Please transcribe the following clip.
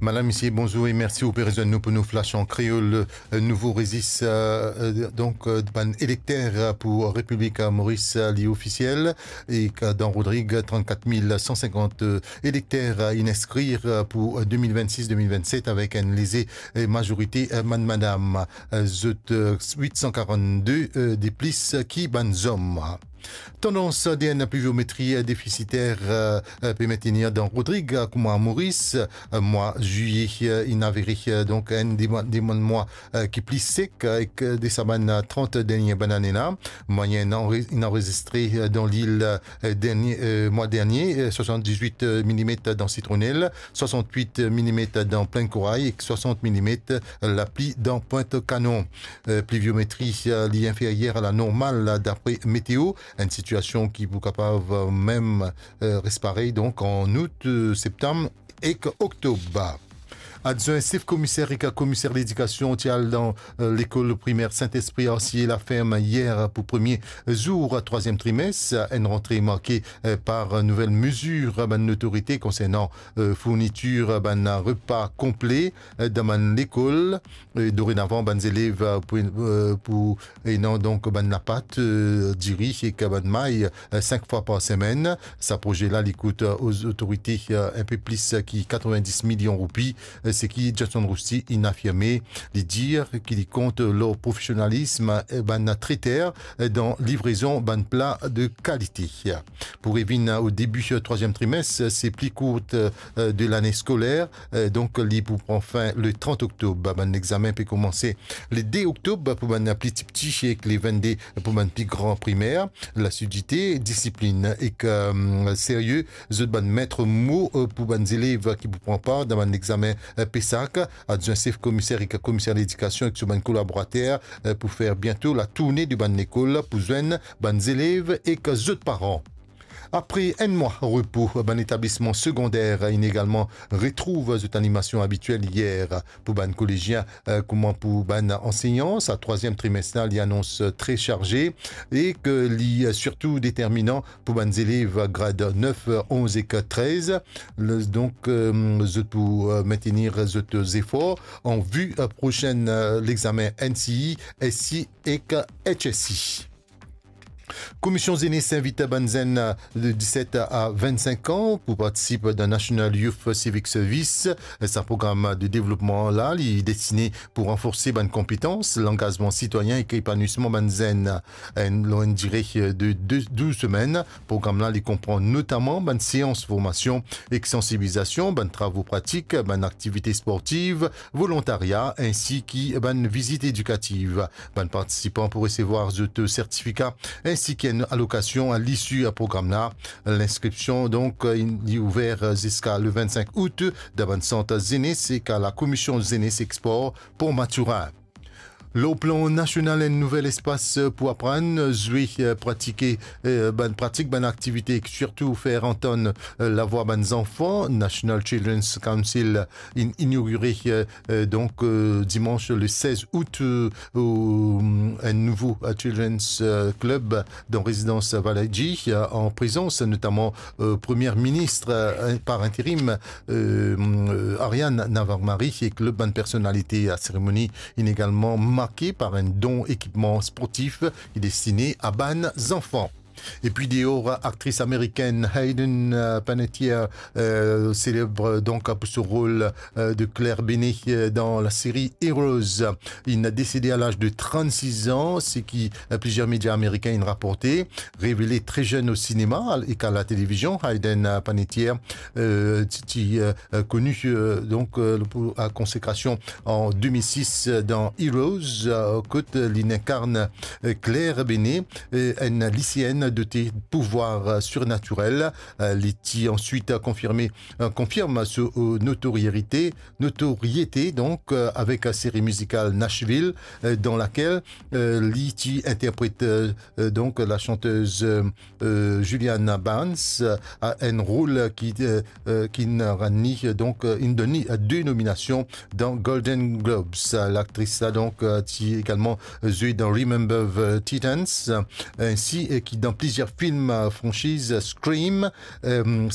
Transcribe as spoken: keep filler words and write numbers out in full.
Madam, misie, bonzour e mersi ou pe rezwenn nou pou nou flash an kreol. Euh, nouvo rezis, euh, euh, donk, euh, bann elekter, euh, pou Repiblik, euh, Moris, euh, li ofisiel. E, euh, dan Rodrig, trannkat mil san sinkant, euh, elekter, euh, inn inskrir, euh, pou, euh, de mil vennsis de mil vennset avek enn leze, euh, mazorite, euh, bann madam. Euh, zot, euh, wit san karannde, euh, de plis, euh, ki bann zom. Tandans de enn pliviometri defisiter, euh, euh, pe mentenir dan Rodrig, euh, kouma Moris, euh, mwa zilye, euh, inn avere, euh, donk enn de mwa, de mwa, mwa, euh, ki pli sek, euh, ek, euh, de sa bann, euh, trant dernie bann ane la. Mwayenn anre-, inn anrezistre, euh, dan lil, euh, dernie, euh, mwa dernie, euh, swasanndiz-wit, euh, milimet dan Sitronel, swasannwit milimet dan Plinn Koray ek swasant milimet lapli dan Pwint Kanon. Euh, pliviometri, euh, li inferyer a la normal, dapre Meteo, enn sitiasion ki pou kapav, euh, mem, euh, res parey, donk, an out, euh, septam ek oktob. Adwin sef komiser ek komiser ledikasion ti al dan, euh, lekol primer Sint-Espri Arsier Laferm yer pou premie zour trwaziem trimes, enn rantre marke, euh, par nouvel mezir bann lotorite konsernan, euh, fournitir bann repa konple, euh, dan bann lekol. E dorenavan, bann zelev, euh, pou, euh, pou ena donk bann lapat, euh, diri ek bann may, euh, sink fwa par semenn. Sa proze la, li kout, euh, oz otorite, euh, enn pe plis ki katrovendis milion roupi, euh, seki Johnson Rousty inn afirme. Li dir ki li kont lor profesionalism, euh, bann treter, euh, dan livrezon bann pla de kalite. Pou revinn o debi, euh, trwaziem trimes, se pli kourt, euh, de lane skoler, euh, donk li pou pran fin le trant oktob. Bann lexamen pe koumanse le de oktob pou bann pli tipti ek le vennde pou bann pli gran primer. Lasidite, disiplinn ek, euh, serye, zot bann met mo, euh, pou bann zelev ki pou pran par dan bann lexamen, euh, PESAC. Adwin sef komiser ek komiser ledikasion ek so bann kolaborater, euh, pou fer biento latourne de bann lekol pou zwenn bann zelev ek zot paran. Apre enn mwa repo, bann etablisman segonder inn egalman retrouv zot animasion abitiel yer. Pou bann kolezien, euh, kouma pou bann ansegnan, sa trwaziem trimes la, li anons, euh, tre sarze e ke li, euh, sirtou determinan pou bann zelev grad nef, onz ek trez. Le, donk, euh, zot pou, euh, mentenir zot zefor an vi, euh, prosenn, euh, lexamen NCE, SCE ek HSC. Komision Zenes invit bann zenn de diset a vennsink an pou partisip dan National Youth Civic Service. Sa program de devlopman la, li destine pou ranforse bann konpetans, langazman sitwayin ek epanwisman bann zenn. Enn, lor enn dire de de, douz semenn, program la, li konpran notaman bann seans formasion ek sansibilizasion, bann travo pratik, bann aktivite sportiv, volontaria, ensi ki bann vizit edikativ. Bann partisipan pou resevwar zot sertifika ensi ki enn alokasion a lisi a program la. Linskripsion, donk, li ouver ziska le vennsink out dan bann sant zenes ek a la Komision Zenes ek Spor Port Mathurin. Lor plan nasional, enn nouvel espas pou aprann, zwe, pratike, eh, bann pratik, bann aktivite ek sirtou fer antann, eh, lavwa bann zanfan. National Children's Council inn inogire, eh, eh, donk, eh, dimans le sez out, eh, enn nouvo, eh, Children's, eh, Club dan rezidans Valeji, eh, an prezans notaman, eh, Premie Minis, eh, par interim, eh, eh, Ariane Navarre-Marie ek lot bann personalite. La seremoni inn egalman marke par enn don ekipman sportif ki destine a bann zanfan. Epi deor, aktris amerikenn Hayden, eh, Panettiere, eh, seleb donk pou so rol, eh, de Claire Benet, eh, dan laseri Heroes. Inn desede a laz de trannsis an, seki, eh, plizier media ameriken inn raporte. Revele tre zenn o sinema ek a la televizion, Hayden, eh, Panettiere, eh, ti, ti, eh, eh, koni, eh, donk, eh, pou, a konsekrasion an de mil sis, eh, dan Heroes, eh, kot li inn inkarn, eh, Claire Benet, eh, enn lisienn dote pouvwar, eh, sirnatirel. Eh, li ti answit, eh, konfirme, eh, konfirm so, eh, notoriete, notoriete, donk, eh, avek la seri mizikal Nashville, eh, dan lakel, eh, li ti interpret, eh, eh, donk, la chantez, eh, eh, Juliana Barnes, eh, a enn rol ki, eh, eh, ki inn rann li, eh, donk, eh, inn donn li, eh, de nominasion dan Golden Globes. Eh, laktris la, donk, eh, ti egalman zwe dan Remember the Titans, eh, ensi, eh, ki dan plizier film, eh, franchiz Scream, eh,